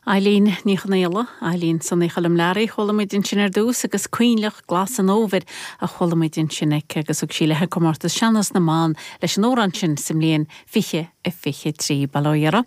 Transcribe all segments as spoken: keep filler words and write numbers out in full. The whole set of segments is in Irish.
Eileen Ní Chonaola, Eileen Sonaí Choilm Learaí chuala muid ansin ar dtús agus Coinleach Glas an Fhómhair a chuala muid ansin aici agus thug sí léi comórtas Sean-nós na mBan leis an amhrán sin sa mbliain fiche a fiche trí bail ó Dhia uirthi.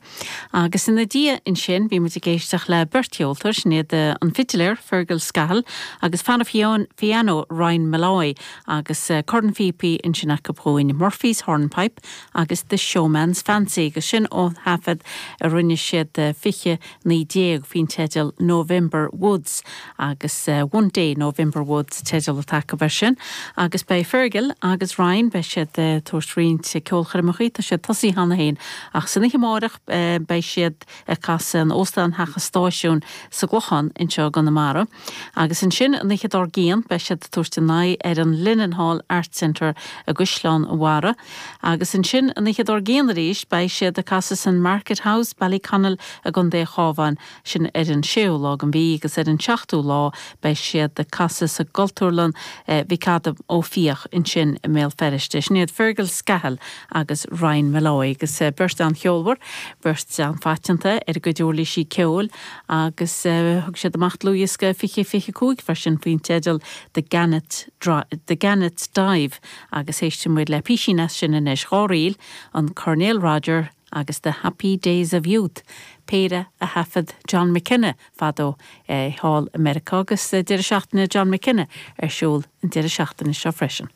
Agus ina diaidh ansin bhí muid ag éisteacht le beirt cheoltóir sin iad an fidléir Fergal Scahill agus fear an phianó Ryan Molloy agus cornphíopaí ansin acu chugainn Murphy's Hornpipe agus The Showman's Fancy agus sin ó thaifead a rinne siad fiche naoi déag faoin teideal November Woods agus uh, One Day November Woods teideal atá acu sin agus beidh Fergal agus Ryan beidh siad uh, tabhairt roinnt ceolchoirmeacha tá siad tosaithe cheana féin ach san oíche amárach uh, beidh siad ag casadh in Óstán Theach an Stáisiúin sa gClochán anseo i gConamara. Agus ansin an oíche dár gcionn beidh siad tabhairt a n-aghaidh ar an Linenhall Art Centre i gCaisleán an Bharraigh. Agus ansin an oíche dár gcionn arís beidh siad ag casadh san Market House Ballyconnell i gContae an Chabháin sin ar an séú lá den mhí agus ar an seachtú lá beidh siad ag casadh sa gCultúrlann eh, Mhic Adaim Ó Fiaich ansin i mBéal Feirste. Sin iad Fergal Scahill agus Ryan Molloy agus eh, beirt an-cheolmhar, beirt an-phaiteanta ar a gcuid uirlisí ceoil agus uh, thug siad amach dlúthdhiosca fiche fiche cúig freisin faoin teideal The Gannet The Gannet Dive agus éistfidh muid le písín as sin anois dhá ríl an Coirnéal Roger agus The Happy Days of Youth. Péire a thaifead John McKenna fadó eh, thall i Meiriceá agus deireadh seachtaine John McKenna ar siúl an deireadh seachtaine seo freisin.